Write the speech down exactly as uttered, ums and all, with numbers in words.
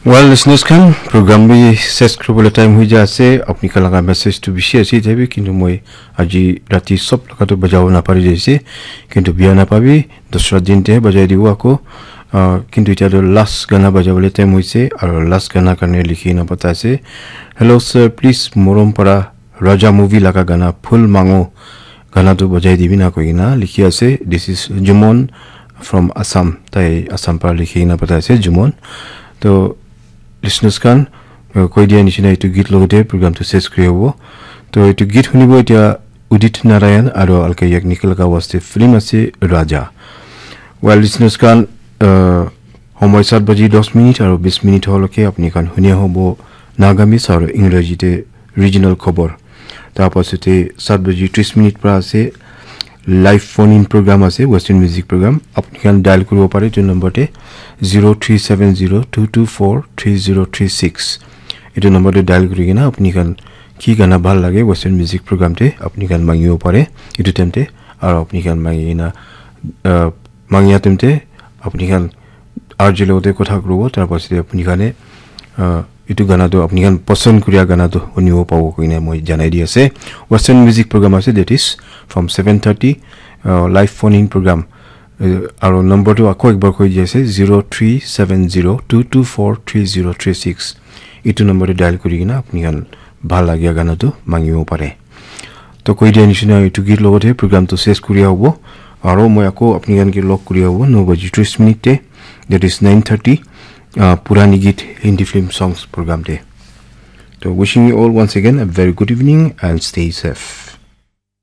Well, listeners khan, program bi ses kuribole time hoi jai ase. Apni khan laga message tu bishi ase, ite bi, kintu moi aji rati sob laga tu bajabo napari jaise. Kintu biya napabi, dusra din te bajai dibo ako. Ah, kintu itya tu last gana bajabole time hoise, aro last gana karne likhi na pata ase. "Hello sir, please Morom para Raja movie laga gana Phul Mango gana tu bajai dibi na," koi kena likhi ase. This is Jumon from Assam. Tai Assam para likhi kena pathai ase, Jumon. To listeners khan, uh, koi dia nishina etu git logote program tu ses kuri hobo. To etu git hunibo itya Udit Narayan aro Alka Yagnik laga waste film ase Raja. Well, listeners khan, uh, homoi sat baji dos minute aro bis minute holoke apni khan hunia hobo Nagamese aro Engraji te regional khobor. Tar pasate sat baji tris minute pra ase, live phone in program ase, Western music program. Apni khan dial kuribo pare etu number te, zero three seven zero two two four three zero three six. Etu number te dial kuri kena apni khan ki gana bhal lage Western music program te apni khan mangibo pare etu time te. Aro apni khan mangi kena, uh, mangia time te apni khan R J logote kotha kuribo, tar pasate apni khane, uh, etu gana tu apni khan pasand kuria gana tu hunibo pabo koine moi janai di ase. Western music program ase, that is from seven thirty, uh, live phone in program. Uh, aro number tu ako ekbar koi di ase, zero three seven zero two two four three zero three six. Etu number te dial kuri kena apni khan bhal lagia gana tu mangibo pare. To koi dia nishina etu git logote program tu ses kuria hobo. Aro moi ako apni khan ke log kuria hobo no baji tris minute te, that is nine thirty, uh, Purani Git Hindi film songs program te. To wishing you all once again a very good evening and stay safe.